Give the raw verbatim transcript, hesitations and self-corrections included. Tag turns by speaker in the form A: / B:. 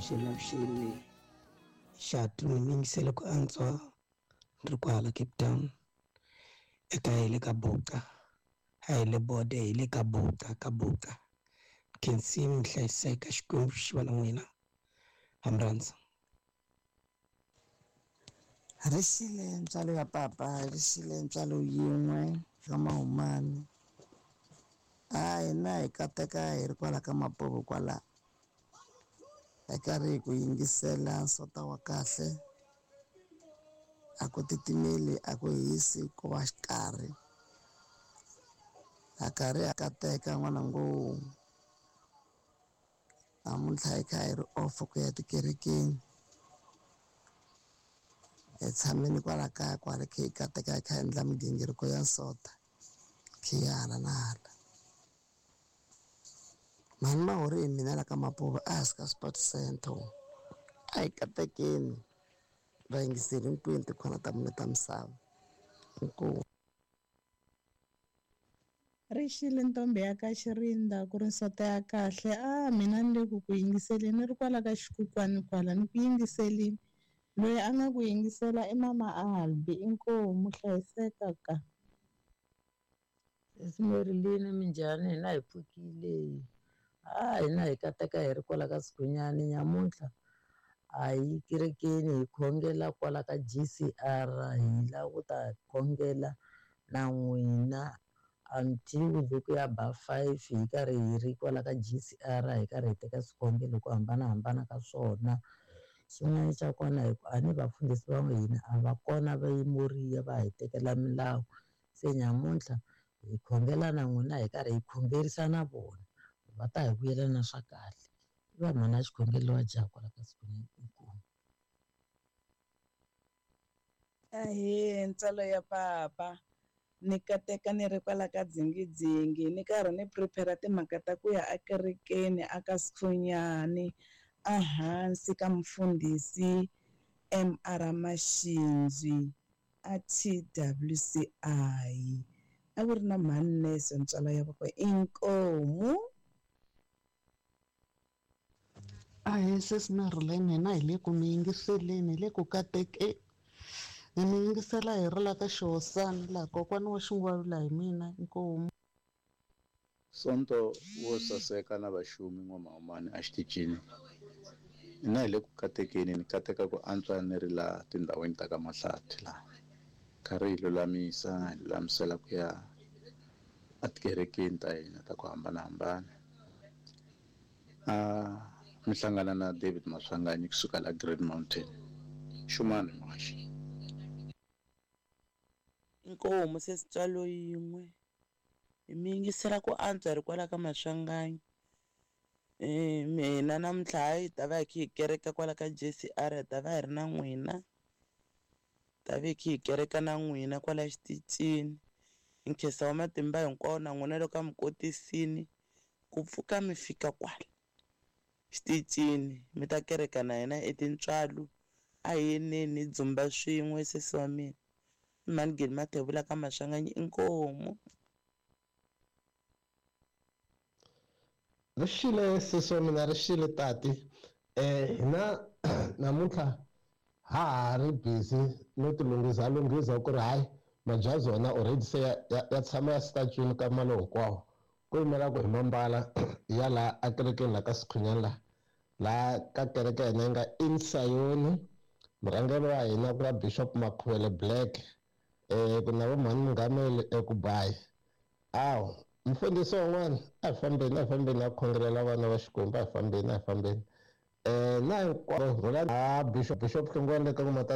A: Avuxeni avuxeni xatu ni mi yingisele ku antswa ni ri kwala Cape Town eka hi le ka Buka a hi le bode hi le ka Buka ka Buka khensi mi hlayiseka Xikwembu xi va na n'wina ha mi rhandza.
B: Ri xile ntswalo ya papa ri xile ntswalo yin'we ka mahumani a hina hi kateka hi ri kwala ka Mapovo kwala hi karhi hi ku yingisela nsota wa kahle a ku titimeli a ku hisi ku va xikarhi ha karhi ha kateka n'wana ngo namuntlha hi kha hi ri off ku ya tikerekeni hi tshamile kwala kaya kwala kha hi kateka hi kha hi endla migingiriko ya nsota khe hi hala na hala mhani Mahori hi mina la ka Mapuva a hansi ka Sport Center a hi katekeni vayingiseri hinkwenu tikhona ta mune ta misava inkomu.
C: Ri xile ntombi ya ka Xirinda ku ri nsota ya kahle a mina ni le ku ku yingiseleni ni ri kwala ka xikukwani kwala ni ku yingiselini loyi a nga ku yingisela i mama Albi inkomu hlayiseka ka.
D: Sesi minjhani hina hi pfukile a hina hi kateka hi ri kwala ka Sikhunyani nyamuntlha a hi kerekeni hi khongela kwala ka G C R hi lava ku ta khongela na n'wina until ku ya ba five hi karhi hi ri kwala ka G C R hi karhi hi teka swikhongelo ku hambanahambana ka swona. Xin'wana xa kona hi ku a ni vafundhisi va hina a va kona va Moriya va hi tekela milawu se nyamuntlha hi khongela na n'wina hi karhi hi khongerisa na vona va ta hi vuyela na swa kahle i va mhana xikhongelo wa jaha kwala ka Sikhunyani inkomu.
C: Ahee ntswalo ya papa ni kateka ni ri kwala ka dzingidzingi ni karhi ni prepare timhaka ta ku ya ekerekeni aka Sikhunyani a hansi ka mufundhisi M R Mashinzwi a T W C I a ku ri na mhani Nese ntswalo ya papa inkomu.
E: Ahee sesi Marilyn hina hi le ku mi yingiseleni hi le ku katekeni ni mi yingisela hi ri la ka Xihosana laha kokwana wa xingwavila hi mina inkomu.
F: Sonto wo saseka na vaxumi n'wamahumani a xitichini hina hi le ku katekeni ni kateka ku antswa ni ri laha tindhawini ta ka Mahlathi laha karhi hi lulamisa hi lulamisela ku ya etikerekeni ta hina ta ku hambanahambana a mi hlangana na David Maswanganyi kusuka la Great Mountain xumani muhaxi.
G: Inkomu sesi ntswalo yin'we hi mi yingisela ku antswa hi ri kwala ka Maswanganyi eh mina namuntlha hi ta va hi kha hi kereka kwala ka J C R hi ta va hi ri na n'wina ta va hi kha hi kereka na n'wina kwala xitichini hi nkhensa wa matimba hinkwawo na n'wina loko a mi kotisini ku pfuka mi fika kwala xitichini mi ta kereka na hina etintswalo a hi yeneni hi dzumba swin'we sesi wa mina mhani Geni Mathebula ka Maswanganyi inkomu.
H: Ri xile sesi wa mina ri xile tati eh hina namuntlha ha ha ri busy no ti lunghisa lunghisa ku ri hayi majazi wona already se ya, ya, ya tshama ya statue ka malo hinkwawo ku yimela ku hi mambala ya laha ekerekeni la ka Sikhunyani la laha ka kereke ya hina yi nga Insayoni murhangeri wa hina ku nga Bishop Makhuvele Black eh ku na vo mhani Mungameli ekubayi awu mfundhisi wun'wana a hi fambeni a hi fambeni a khongelela vana va Xikwembu a hi fambeni a hi fambeni eh na hinkwavo rhula a Bishop Bishop Hlongwane le ka